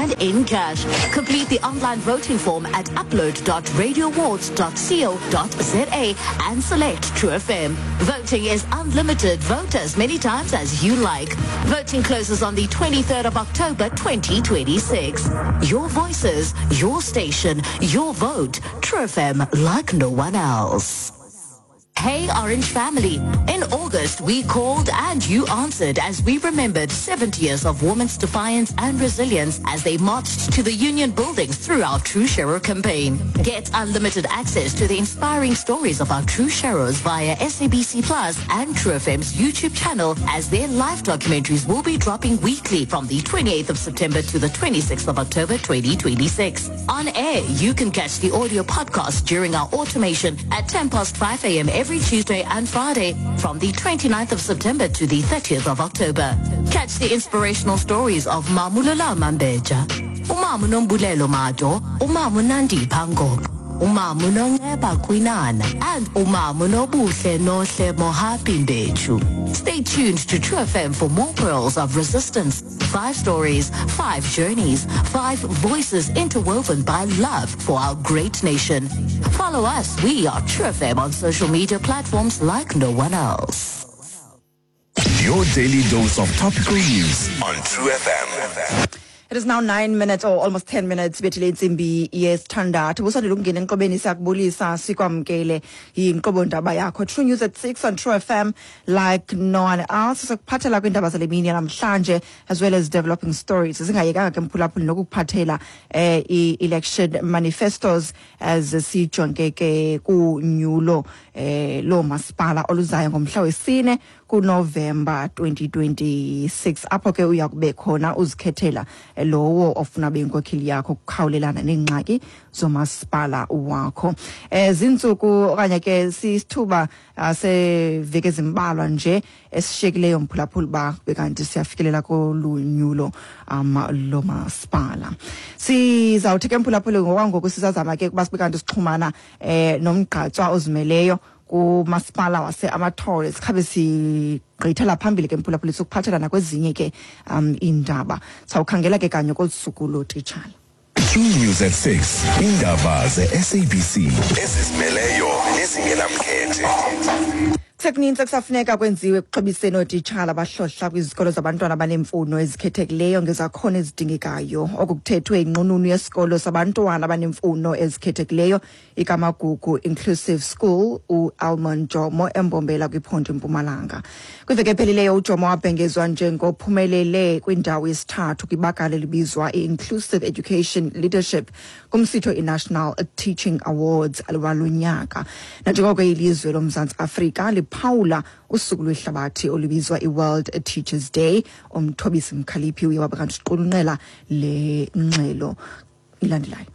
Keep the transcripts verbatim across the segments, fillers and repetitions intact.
rand in cash. Complete the online voting form at upload dot radio awards dot co dot za and select True F M. Voting is unlimited. Vote as many times as you like. Voting closes on the twenty-third of October twenty twenty-six. Your voices, your station, your vote. True F M, like no one else. Hey Orange Family, in August we called and you answered as we remembered seventy years of women's defiance and resilience as they marched to the union buildings through our True Sharer campaign. Get unlimited access to the inspiring stories of our True Sharers via S A B C Plus and True F M's YouTube channel, as their live documentaries will be dropping weekly from the twenty-eighth of September to the twenty-sixth of October twenty twenty-six. On air, you can catch the audio podcast during our automation at ten past five a m every Tuesday and Friday from the twenty-ninth of September to the thirtieth of October. Catch the inspirational stories of Mamulola Mambeja, Umamu Nombulelo Mado, Umamu Nandi Pango, Umamu Nongeba Kwinana, and Umamu Nobuhle Nohle Mohapi Mbechu. Stay tuned to True F M for more pearls of resistance. Five stories, five journeys, five voices interwoven by love for our great nation. Follow us. We are True F M on social media platforms like no one else. Your daily dose of topical news on True F M. It is now nine minutes or almost ten minutes bethile intsimbi yesithandathu. Busandula ukungena enqobeni, siyakubulisa, sikwamkele yinkqubo ndaba yakho True News at six on True F M like no one else. Sikuphathela kwiindaba zale mini namhlanje as well as developing stories. Singayekanga ke mphulaphuli nokukuphathela eh i-election manifestos as sijonge ke kunyulo eh lo masipala oluzayo ngomhla wesine kuNovember twenty twenty-six, apho ke uya kube khona uzikhethela lowo ofuna benkokheli yakho ukukhawulelana neengxaki zomasipala wakho. Eh zintsuku okanye ke sisithuba seveki ezimbalwa nje esishiyekileyo mphulaphuli ba bekanti siyafikelela kolunyulo um lomasipala. Sizawuthi ke mphulaphuli ngokwangoku sizazama ke kuba sibe kanti sixhumana eh nomgqatswa ozimeleyo kumasipala wase Amathole. Sikhabe sigqithela phambili ke mphulaphuli sokuphathela nakwezinye ke um indaba. Sawukhangela ke kanye kolusuku lotitshala. True News at six, indaba ze-S A B C ezizimeleyo nezingenamkhethe. Sekuninzi ekusafuneka kwenziwe ekuxhobiseni ootitshala abahlohla kwizikolo zabantwana abaneemfuno ezikhethekileyo ngezakhono ezidingekayo. Oku kuthethwe yinqununu yesikolo sabantwana abaneemfuno ezikhethekileyo iKamagugu Inclusive School, uAlmon Jomo, eMbombela kwiphondo iMpumalanga. Kwiveki ephelileyo uJomo wabhengezwa njengophumelele kwindawo yesithathu kwibakala elibizwa i-Inclusive Education Leadership kumsitho i-National Teaching Awards walonyaka. Nanjengoko ilizwe loMzantsi Afrika liphawula usuku lwehlabathi olubizwa i-World Teachers Day, uMthobisi Mkhaliphi uye waba kanti uqulunqela le ngxelo ilandelayo.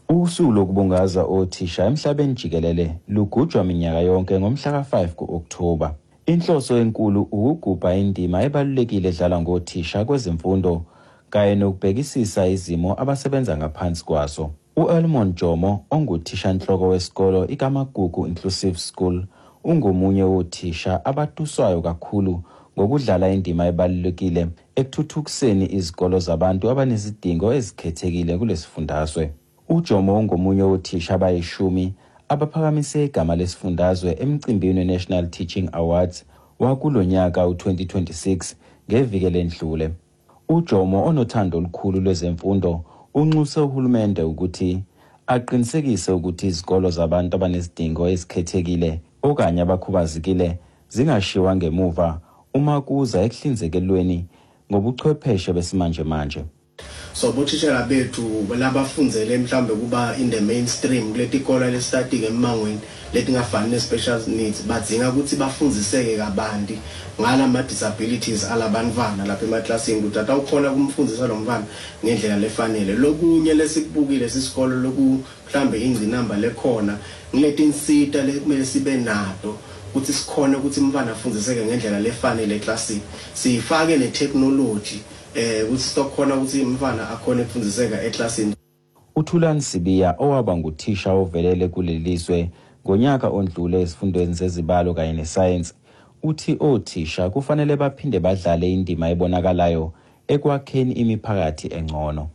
Usuku lokubungaza othisha emhlabeni jikelele lugujwa minyaka yonke ngomhla ka five ku-Okthoba. Inhloso enkulu ukugubha indima ebalulekile edlalwa ngothisha kwezemfundo kanye nokubhekisisa izimo abasebenza ngaphansi kwazo. U-Elmon Jomo, onguthishanhloko wesikolo iKamagugu Inclusive School, ungomunye wothisha abatuswayo kakhulu ngokudlala indima ebalulekile ekuthuthukiseni izikolo zabantu abanezidingo ezikhethekile kulesifundazwe. UJomo ungomunye wothisha abayishumi abaphakamise igama lesifundazwe emcimbini we-National Teaching Awards wakulonyaka u-twenty twenty-six ngeviki elendlule. UJomo, onothando olukhulu lwezemfundo, unxuse uhulumende ukuthi aqinisekise ukuthi izikolo zabantu abanezidingo ezikhethekile okanye abakhubazekile zingashiwa ngemuva uma kuza ekuhlinzekelweni ngobuchwepheshe besimanjemanje. So bothishela bethu labafundzele mhlambe kuba in the mainstream kuletikolo lesitati emangweni letingafani ne special needs badzinga ukuthi bafundziseke kabanti ngalama disabilities alabantwana lapha emaklasini ukuthi atawukhona kumfundzisa lo mntwana ngendlela lefanele. Lokunye lesikubukile sisikolo loku mhlambe ingcinamba lekhona ngiletinsita lekumele sibe nato ukuthi sikhone ukuthi umntwana afundziseke ngendlela lefanele eklasini, sifake ne technology eh ukuthi sitokhona ukuthi umntwana akhone ukufundziseka eklasini. uThulani Sibiya, owaba nguthisha ovelele kulelizwe ngonyaka ondlule ezifundweni zezibalo kanye nesayensi, uthi othisha kufanele baphinde badlale indima ebonakalayo ekwakheni imiphakathi engcono.